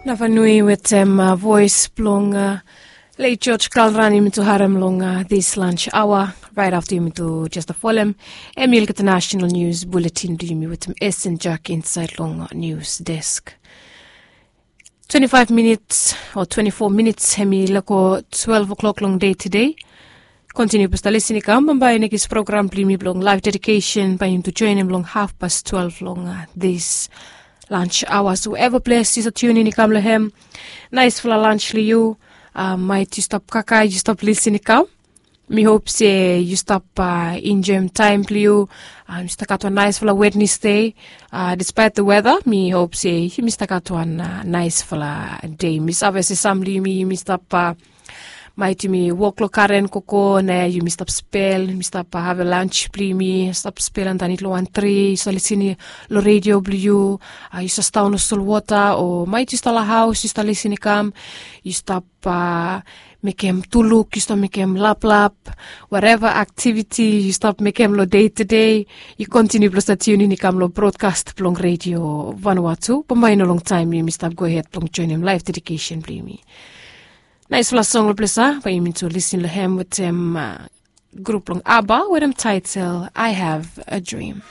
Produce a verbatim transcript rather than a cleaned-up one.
Navanui wetem voes blong leit George Kalran yumi tu harem long this lunch aoa. Rait afta yumi tu jes folem em i olgeta national news bulletin blong yumi wetem Esen Jack insaed long news desk. Twenti faef minits o twenti fo minits em i lako twelve o'clock long dei tedei. Kontiniu blong stap lisin i kam bambae nekis program blong yumi blong laef dedikesen bae yumi tu joenem long haf pas twelve long this lunch aoa. So weva ples yu save tiunin i kam long hem, naesfala lunch long yu. Maet yu stap kaka yu stap lisin i kam. Mi hop se yu stap enjoem taem blong yu. Yu stap gat wan naesfala Wednesday. Dispaet the weta mi hop se yumi stap gat wan naesfala dei. Mi save se sam blong yumi yumi stap maet yumi wok long karen koko na yumi stap spel yumi stap have lunch blong yumi stap spel andanit long wan tri yu stap lisin long redio blong yu. Yu stap staon long solwota o maet yu stap long haos yu stap lisin i kam. Yu stap mekem tuluk yu stap mekem laplap, whatever activity yu stap mekem long dei tedei. Yu kontiniu blong stap tiunin i kam long brodkas blong redio vanua tu bambae i no longtaem yumi stap gohed blong joenem laef dedikesen blong yumi. Naesfala song long ples ya bae yumi tu lisin long hem wetem grup blong ABBA wetem taetel I Have a Dream.